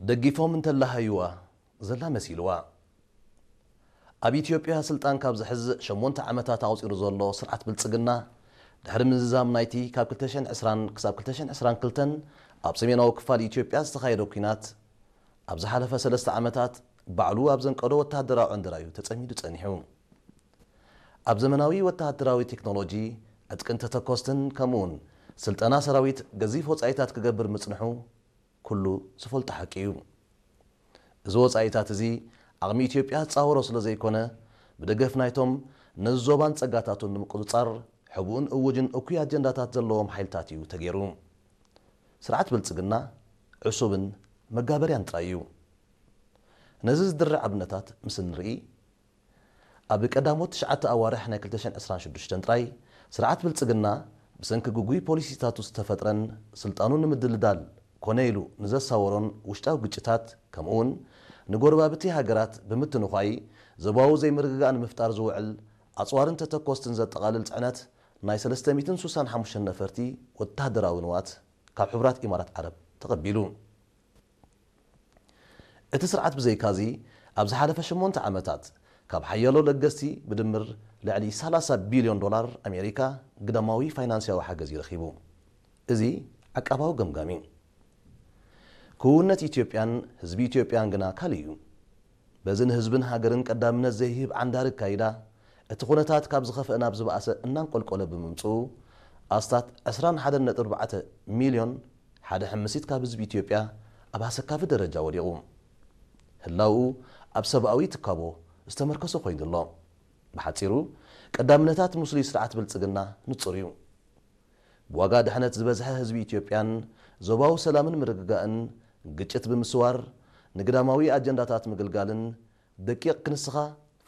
ደጊፎም እንተላሃይዋ ዘላ መሲልዋ። ኣብ ኢትዮጵያ ስልጣን ካብ ዝሕዝ ሸሞንተ ዓመታት ኣቑጺሩ ዘሎ ስርዓት ብልጽግና፣ ድሕሪ ምዝዛም ናይቲ ካብ ክልተ ሽሕን ዕስራን ክሳብ ክልተ ሽሕን ዕስራን ክልተን ኣብ ሰሜናዊ ክፋል ኢትዮጵያ ዝተኻየደ ኲናት፣ ኣብ ዝሓለፈ ሰለስተ ዓመታት ባዕሉ ኣብ ዘንቀዶ ወተሃደራዊ ዕንደራ እዩ ተጸሚዱ ጸኒሑ። ኣብ ዘመናዊ ወተሃደራዊ ቴክኖሎጂ፣ ዕጥቅን ተተኮስትን ከምኡውን ስልጠና ሰራዊት ገዚፍ ወጻኢታት ክገብር ምጽንሑ ኩሉ ዝፈልጦ ሓቂ እዩ። እዚ ወጻኢታት እዚ ዓቕሚ ኢትዮጵያ ዝጻወሮ ስለ ዘይኮነ፣ ብደገፍ ናይቶም ነዚ ዞባን ጸጋታቱን ንምቁጽጻር ሕቡእን እውጅን እኩይ ኣጀንዳታት ዘለዎም ሓይልታት እዩ ተገይሩ። ስርዓት ብልጽግና ዕሱብን መጋበርያን ጥራይ እዩ። ነዚ ዝድርዕ ኣብነታት ምስ እንርኢ፣ ኣብ ቀዳሞት ትሽዓተ ኣዋርሕ ናይ ክልተ ሽሕን ዕስራን ሽዱሽተን ጥራይ፣ ስርዓት ብልጽግና ብሰንኪ ግጉይ ፖሊሲታቱ ዝተፈጥረን ስልጣኑ ንምድልዳል ኮነ ኢሉ ንዘሳወሮን ውሽጣዊ ግጭታት፣ ከምኡውን ንጎረባብቲ ሃገራት ብምትንዃይ ዞባዊ ዘይምርግጋእ ንምፍጣር ዝውዕል ኣጽዋርን ተተኮስትን ዘጠቓልል ጽዕነት ናይ ሰለስተ ሚእትን ስሳን ሓሙሽተን ነፈርቲ ወተሃደራዊ ንዋት ካብ ሕቡራት ኢማራት ዓረብ ተቐቢሉ። እቲ ስርዓት ብዘይካዚ፣ ኣብ ዝሓለፈ ሸሞንተ ዓመታት ካብ ሓያሎ ለገስቲ ብድምር ልዕሊ ሰላሳ ቢልዮን ዶላር ኣሜሪካ ግዳማዊ ፋይናንስያዊ ሓገዝ እዩ ረኺቡ። እዚ ዓቃባዊ ገምጋም እዩ። ክውንነት ኢትዮጵያን ህዝቢ ኢትዮጵያን ግና ካልእ እዩ። በዚ ንህዝብን ሃገርን ቀዳምነት ዘይህብ ዓንዳሪ ኣካይዳ፣ እቲ ኩነታት ካብ ዝኸፍአ ናብ ዝበኣሰ እናንቆልቆለ ብምምጽኡ፣ ኣስታት ዕስራን ሓደን ነጥቢ ኣርባዕተ ሚልዮን ሓደ ሕምሲት ካብ ህዝቢ ኢትዮጵያ ኣብ ኣሰካፊ ደረጃ ወዲቑ። ህላውኡ ኣብ ሰብኣዊ ትካቦ ዝተመርከሰ ኮይኑ ኣሎ። ብሓጺሩ፣ ቀዳምነታት ምስሉይ ስርዓት ብልጽግና ንጹር እዩ። ብዋጋ ድሕነት ዝበዝሐ ህዝቢ ኢትዮጵያን ዞባዊ ሰላምን ምርግጋእን ግጭት ብምስዋር ንግዳማዊ ኣጀንዳታት ምግልጋልን ደቂቕ ክንስኻ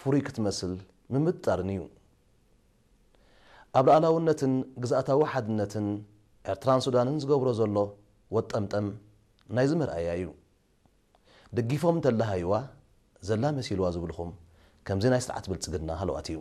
ፍሩይ ክትመስል ምምጥጣርን እዩ። ኣብ ሉዓላውነትን ግዝኣታዊ ሓድነትን ኤርትራን ሱዳንን ዝገብሮ ዘሎ ወጠምጠም ናይዚ መርኣያ እዩ። ደጊፎም እንተላሃይዋ ዘላ መሲልዋ ዝብልኹም ከምዚ ናይ ስርዓት ብልጽግና ሃለዋት እዩ።